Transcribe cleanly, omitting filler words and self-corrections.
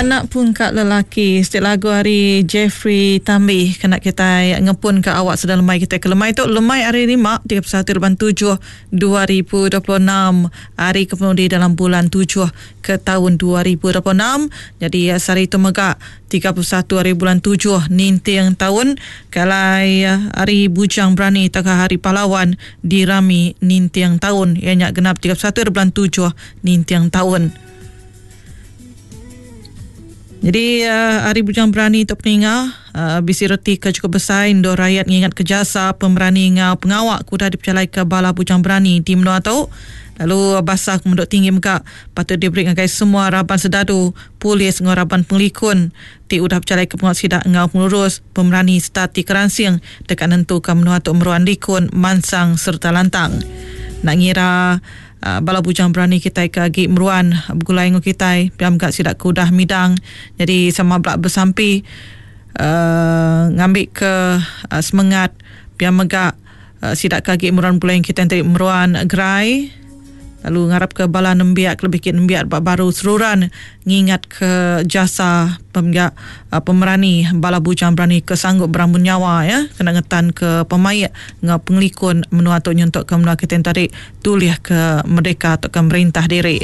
Anak Pungka Lelaki siti lagu ari Jeffrey Tambi kena kitai ngepun ka awak sedang lemai kitai ke lemai tu lemai hari lima 31 bulan 7 2026 hari ke penudi dalam bulan 7 ke taun 2026 nyadi sehari tu mega 31 hari bulan 7 ninting taun ke alai hari Bujang Berani tauka Hari Pahlawan dirami ninting taun iya nya genap 31 hari bulan 7 ninting taun. Jadi Hari Bujang Berani tu peninga bisi reti ke chukup besai endur rayat ngingatka jasa pemerani enggau pengawa ke udah dipejalaika bala bujang berani di menua tu. Lalu basa ke menduk tinggi mega patut diberi ngagai semua raban sedadu, polis enggau raban pengelikun ti udah bejalaika pengawa sida enggau pengelurus, pemerani sereta ti keransing deka nentuka menua tu meruan likun, mansang sereta lantang. Enda ngira Bala bujang berani kitai ke agi meruan begulai enggau kitai pia mega sida ke udah midang nyadi sama bela besampi uhh ngambi ke semengat pia mega sida ke agi meruan begulai enggau kitai enti meruan gerai lalu ngarap ke bala nembiak kelebih agi nembiak ba baru seruran ngingat ke jasa pemega pemerani bala bujang berani ke sanggup berambun nyawa iya kena ngetan ke pemaik enggau pengelikun menua tu nyentuk ke menua kitai tadi tulih ke merdeka tauka merintah diri.